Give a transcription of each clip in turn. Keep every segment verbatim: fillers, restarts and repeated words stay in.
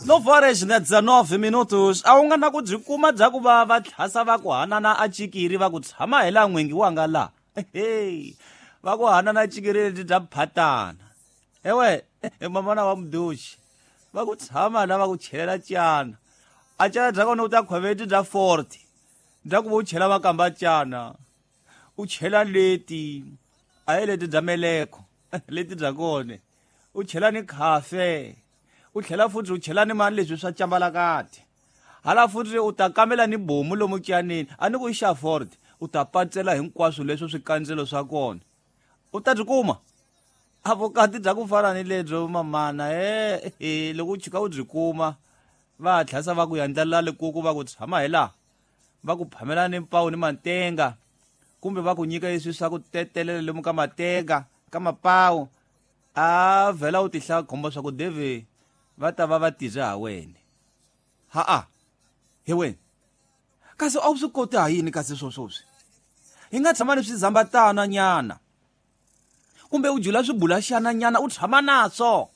Nove horas na dezenove minutos a wu nga na ku byi kuma bya ku va va tlhasa va ku hanana a cikiri va ku tshama hi laha n'wingi wa nga laha hey va ku hanana cikiri lebyi bya phatana ewe mamana wa muduxi va ku tshama la va ku chelela cana a cana bya kona u ta khweveti bya forty bya ku va u chela makamba cana u chela leti a hi leti bya meleko leti bya kona u chela ni khafe u tlhela futhi u chela ni mani leswi swa cambalakati hala futhi u ta kamela ni bomu lomu cyanini a ni ku i xa forty u ta patsela hinkwaswo leswo swikandzelo swa kona u ta byi kuma a vukati bya ku fana ni lebyo mamana e loko u chika u byi kuma va tlhasa va ku yandlalela likuku va ku tshama hi laha va ku phamela ni mpawu ni mantenga kumbe va ku nyika leswi swa ku tetelela lomu ka matenga ka mapawu a vhela u tihla khombo swa ku deve va ta va va tizwe ha wena ha-a hi wena kasi a wu swi koti ha yini kasi swoswoswi hi nga tshama ni swizambatana nyana kumbe u jula swibulaxana nyana u tshama naswo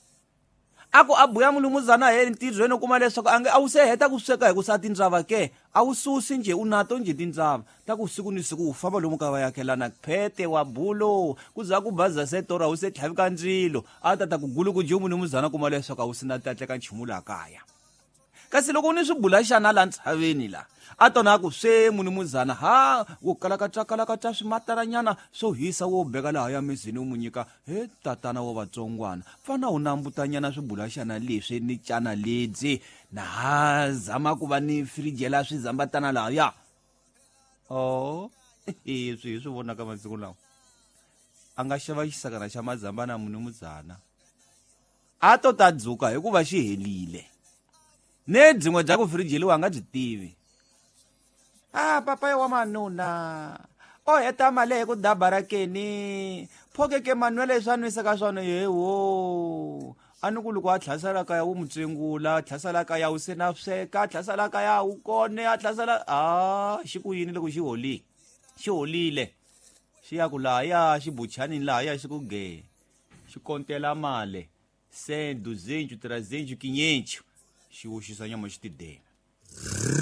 a ku a buya mulumuzana he ntirhweni u kuma leswaku a nge a wu se heta ku sweka hi ku sa tindzava ke a wu susi njhe u nato njhe tindzava ta ku siku ni siku u famba lomu ka vayakelana phete wa bulo ku za ku baza se tora wu se tlhavika ndzilo a ta ta ku gulu ku nje mulumuzana kuma leswaku a wu si na tatleka nchumu laha kaya kasi loko u ni swibulaxana laha ntshaveni la a tona a ku swe munumuzana ha wo kalakatsa kalakatsa swimataranyana swo hisa wo beka laha ya mizini u mu nyika he tatana wa vatsongwana fana u nambutanyana swibulaxana leswi ni cana lebyi na ha zama ku va ni firijela swizambatana lahaya o swi hi swi vonaka masiku lawa a nga xava xisakana xa mazambana munumuzana a to ta dzuka hikuva xi helile ne byin'we bya ku firijeliwa a nga byi tivi a papa wa manuna o heta mali hi ku dabara keni phokeke manwele swa nwisa ka swona yewo a ni ku loko a tlhasela kaya wu mutsengula a tlhasela kaya wu se na sweka a tlhasela kaya wu kone a tlhasela a xi ku yini loko xi holile xi holile xi ya ku lahaya xi buchanini lahaya xi ku ge xi kontela mali cem duzentos trezentos quinhentos xi oxisa nyama xi tidela.